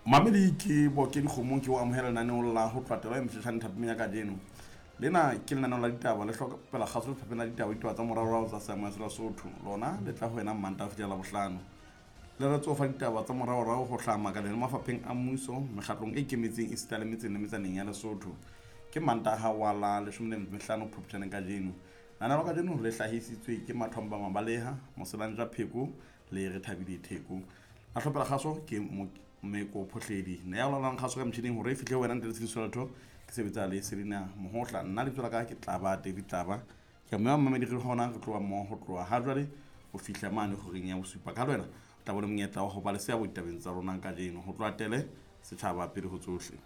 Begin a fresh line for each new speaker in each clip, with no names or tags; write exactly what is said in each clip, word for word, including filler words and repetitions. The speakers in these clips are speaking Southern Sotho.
Mamedi ke Boke Dikgomong, ke o amohela lenaneong la ho tloha taba e motjhetjhane thapameng ya kajeno. Lena ke lenaneo la ditaba le hlopela kgaso lefapheng la ditaba, ditaba tsa moraorao tsa seamoya sa Lesotho. Lona le tla ho wena Mantaha ho fihlela Labohlano. Le re tsofa ditaba tsa moraorao ho hlaha makaleng le mafapheng a mmuso, mekgatlong e ikemetseng esita le metseng le metsaneng ya Lesotho. Ke Mantaha wa la leshome le metso e mehlano Phuptjaneng kajeno. Lenaneo la kajeno le hlahisitswe ke Mathomba Mabaleha, Moselanja Pheko le Rethabile Theko. La hlopela kgaso ke Meko Phohledi. Ne ya laolang kgaso ka motjhining hore e fihle ho wena ntle le tshediso ya letho. Ke sebetsa le Selina Mohotla. Nna lebitso la ka ke Tlaba David Tlaba. Ke a mema mamedi re hona re tloha mmoho ho tloha ha jwale ho fihla mane horeng ya bosupa. Ka le wena o tla bona monyetla wa ho ba le seabo ditabeng tsa rona kajeno. Ho tloha tele setjhaba pele ho tsohle.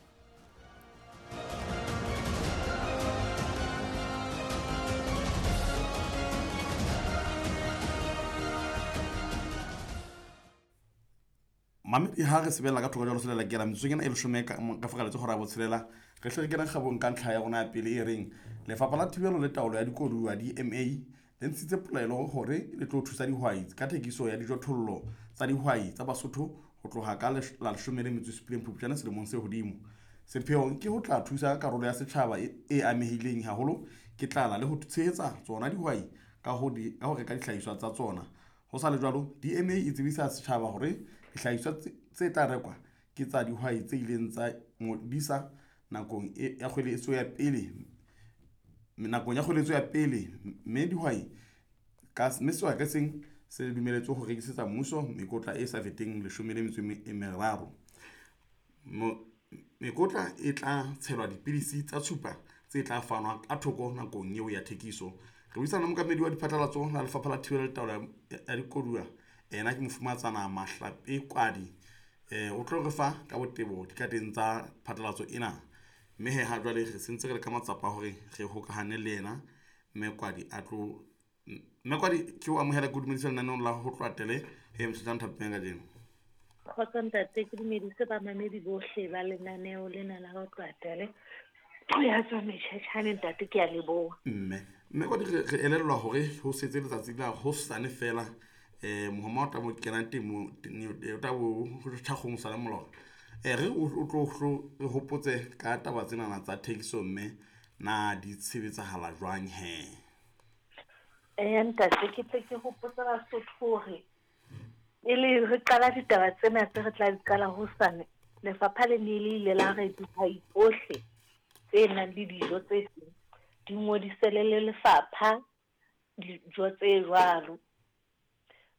Mamedi ha re sebella ka thoko jwalo selela kela metsotsong ena e leshome ka ka fokaletse hora ya botshelela, re hle re kena kgabong ka ntlha ya rona ya pele e reng Lefapha la Thibelo le Taolo ya Dikoduwa D M A le ntshitse polelo hore le tlo thusa dihwai ka thekiso ya dijothollo tsa dihwai tsa Basotho ho tloha ka la leshome le metso e supileng Phupjane selemong se hodimo. Sepheo ke ho tla thusa karolo ya setjhaba e, e amehileng haholo ke tlala le ho tshehetsa tsona dihwai ka ho di, ka ho reka dihlahiswa tsa tsona. Ho sa le jwalo, D M A e tsebisa setjhaba hore dihlahiswa tse tla rekwa ke tsa dihwai tse ileng tsa ngodisa nakong e, ya kgweletso ya pele, nakong ya kgweletso ya pele, mme dihwai ka mme sehwai ka seng se dumeletswe ho rekisetsa mmuso mekotla e sa feteng leshome le metso e meraro. Mekotla e tla tshelwa dipidisi tsa tshupa tse tla fanwa ka thoko nakong eo ya thekiso. Re buisana le mookamedi wa diphatlalatso la Lefapha la Thibelo le Taolo ya Dikoduwa, ena ke Mofumahatsana Mahlape Kwadi. Eh, o tlo re fa ka botebo dikateng tsa phatlalatso ena. Mme he ha jwale re sentse re le ka matsapa hore re hokahane le yena Mme Kwadi a tlo. Mme Kwadi, ke o amohela ke o dumedisa lenaneong la ho tloha tele he motjhetjhane thapameng kajeno.
Kgotso ntate, ke dumedise bamamedi bohle ba lenaneo lena la ho tloha tele. Ya tswa metjhetjhane ntate, ke a leboha.
Mme mme Kwadi, re re elellwa hore ho setse letsatsi la hosane fela eh mohoma o tla mo kenang temo o tla bo thakgong sa molora. Eh re o tlo re hopotse ka taba tsena tsa thekiso mme na di tshebetsahala jwang he?
Eh ntate, ke tle ke hopotse Basotho hore pele re qala ditaba tsena tse re tla di qala hosane, lefapha le ne le ile la re dihwai tsohle tse nang le dijo tse seng di ngodisele le lefapha dijo tse jwalo.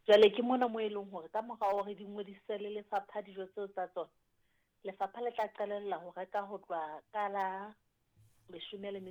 Jwale ke mona mo e leng hore ka mora hore di ngodisele lefapha dijo tseo tsa tsona, lefapha le tla qalella ho reka ho tloha ka la leshome le